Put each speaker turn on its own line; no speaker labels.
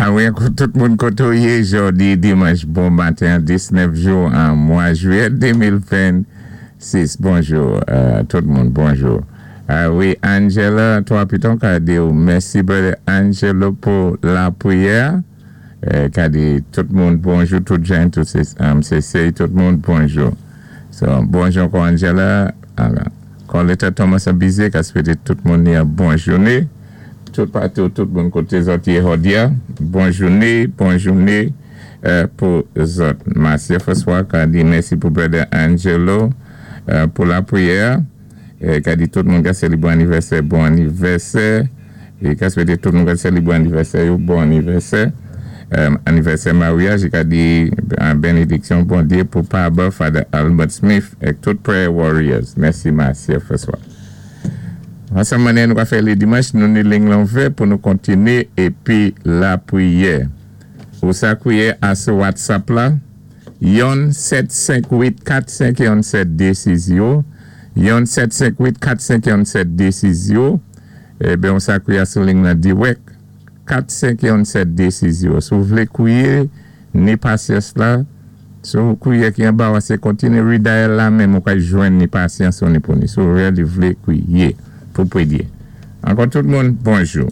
Wi, tout moun koté ou yé jòdi dimanch bon maten 19 jou an mwa jwiyè 2026. Bonjou, tout moun, bonjou. Wi, Angela, twa piton ka di mèsi, brother Angelo, pou lapriyè. Ka di tout moun bonjou, tout jan, tout se tout moun bonjou. So, bonjou ankò, Angela. Alò, Coletta Thomas Abize, ka swété tout moun yon bon jouné. Tout patou, tout moun koté zòt yé jòdi a. Bon jouné, bon jouné pou zòt. Marcia François ka di mèsi pou brother Angelo pou lapriyè. Ka di tout moun ka sélébwé anivèsè, bon anivèsè. É ka swété tout moun ka sélébwé anivèsè, bon anivèsè. Anivèsè maryaj, ka di benediksyon Bondyé pou Papa, Father Albert Smith é tout prayer warriors. Mèsi, Marcia François. Ansanm mannyè nou ka fè lé dimanch, nou ni liy lan ouvè pou nou kontiné épi lapriyè. Ou sa kwiyé a sou WhatsApp la, 1 7 5 8 4 5 1 7 2 6 0, 1 7 5 8 4 5 1 7 2 6 0. Eben, ou sa kwiyé sou liy lan dirèk 4 5 1 7 2 6 0. Si ou vlé kwiyé, ni pasyans la, sou kwiyé ki anba, sé kontiné redial la menm ou ka jwenn ni pasyans ou ni pou ni. Si ou really vlé kwiyé pou pwédyé. Ankò tout moun, bonjou.